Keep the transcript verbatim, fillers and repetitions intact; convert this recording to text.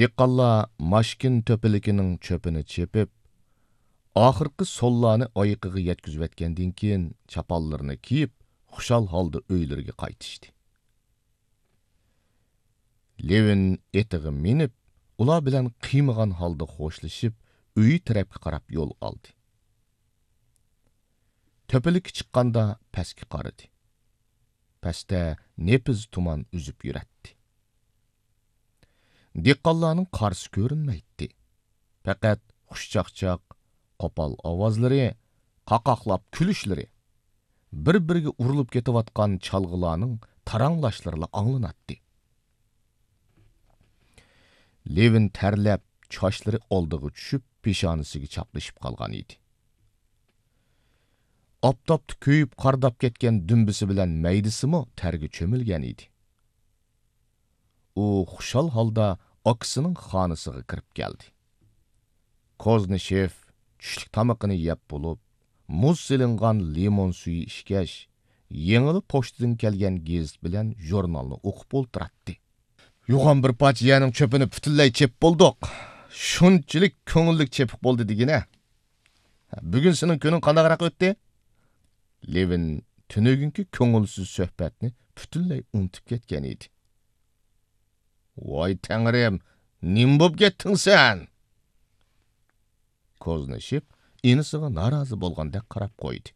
دېھقانلار ماشكىن تۆپىلىكىنىڭ چۆپىنى چېپىپ، ئاخىرقى سوللارنى ئايىقىغا يەتكۈزۈۋەتكەندىن كېيىن، چاپانلىرىنى كىيىپ، خۇشال ھالدا ئۆيلىرىگە قايتىشتى. لېۋىن ئېتىغا مىنىپ، ئۇلار بىلەن قىيمىغان ھالدا خوشلىشىپ، ئۆيى تەرەپكە قاراپ يول ئالدى. تۆپىلىككە چىققاندا پەسكە قارىدى. پەستە نېپىز تۇمان ئۈزۈپ يۈرەتتى. دېھقانلارنىڭ قارىسى كۆرۈنمەيتتى. پەقەت خۇشچاقچاق، قوپال ئاۋازلىرى، قاقاقلاپ كۈلۈشلىرى، بىر-بىرىگە ئۇرۇلۇپ كېتىۋاتقان چالغىلارنىڭ تاراڭلاشلىرىلا ئاڭلىناتتى. لېۋىن تەرلەپ، چاچلىرى ئالدىغا چۈشۈپ، پېشانىسىگە چاپلىشىپ قالغان ئىدى. ئاپتاپتا كۆيۈپ، قارداپ كەتكەن دۈمبىسى بىلەن مەيدىسىمۇ تەرگە چۆمۈلگەن ئىدى. ئۇ خۇشال ھالدا ئاكىسىنىڭ خانىسىغا كىرىپ كەلدى. كوزنىشېف چۈشلۈك تامىقىنى يەپ بولۇپ، مۇز سېلىنغان لىمون سۈيى ئىچكەچ، يېڭىلا پوچتىدىن كەلگەن گېزىت بىلەن ژۇرنالنى ئوقۇپ ئولتۇراتتى. يوغان بىر پارچە يەرنىڭ چۆپىنى پۈتۈنلەي چېپىپ بولدۇق. شۇنچىلىك كۆڭۈللۈك چېپىپ بولدى دېگىنە. بۈگۈن سېنىڭ كۈنۈڭ قانداقراق ئۆتتى؟ لېۋىن تۈنۈگۈنكى كۆڭۈلسىز سۆھبەتنى پۈتۈنلەي ئۇنتۇپ كەتكەن ئىدى. ۋاي تەڭرىم، نېمە بوپ كەتتىڭ سەن؟ كوزنىشېف ئىنىسىغا نارازى بولغاندەك قاراپ قويدى.